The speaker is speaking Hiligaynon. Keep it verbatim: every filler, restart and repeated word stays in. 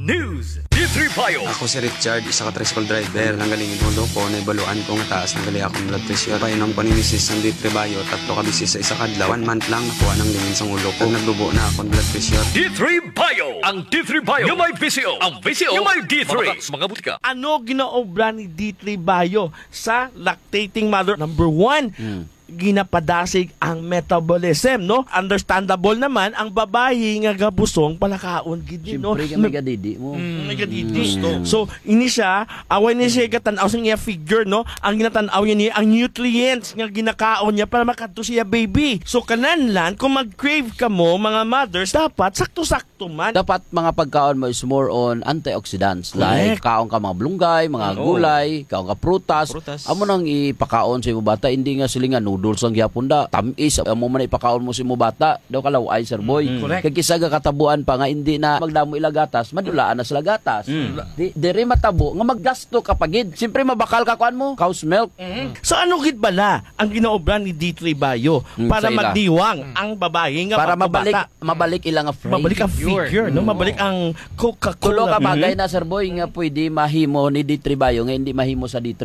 News, D three Bio. Ako si Richard, isa ka tricycle driver. Nanggaling in ulo ko, naibaluan ko nga taas na gali akong blood pressure. Painom ko ni misis sang D three Bio, tatlo ka beses sa isa ka adlaw. One month lang, nakuha nang lingin sang ulo ko. Naglubo na akong blood pressure. D three Bio. Ang D three Bio nga may V C O. Ang V C O nga may D three. Mabata sa mga butika. Ano ginaobra ni D three Bio sa lactating mother? Number one, Hmm. ginapadasig ang metabolism, no? Understandable naman ang babayi nga gabusong palakaon gid ni, no? Siyempre, kay may gadidi mo. Mm, may gadidi. Mm. Gusto. So, ini siya, away ni siya gatan-aw sa iya figure, no? Ang ginatan-aw niya ni ang nutrients nga ginakaon niya para makadto siya baby. So, kanan lang, kung mag-crave ka mo, mga mothers, dapat sakto-sakto man. Dapat mga pagkaon mo is more on antioxidants. Correct. Like, kaon ka mga blunggay, mga Oo. gulay, kaon ka prutas. Prutas. Amo nang ipakaon sa imo bata, hindi nga sila nga noodles ang gihapon da. Tamis, amo man ipakaon mo sa imo bata. Daw kalaw-ay, sir boy. Mm. Correct. Kag kisa gakatabuan pa nga hindi na magdamo ila gatas, madulaan na sila gatas. Mm. Di, diri matabo nga maggasto ka pa gid. Siyempre mabakal ka kuan mo, cow's milk. Mm. So ano gid bala ang ginaobra ni D three Bio Mm, para sa ila. magdiwang Mm. ang babayi nga Para magkabata? mabalik, mabalik ila nga frame. Mabalik ang Figure. figure, no? Mm. Mabalik ang Coca-Cola. Tulo ka bagay Mm. na, sir boy, nga pwede mahimo ni D three Bio nga hindi mahimo sa D three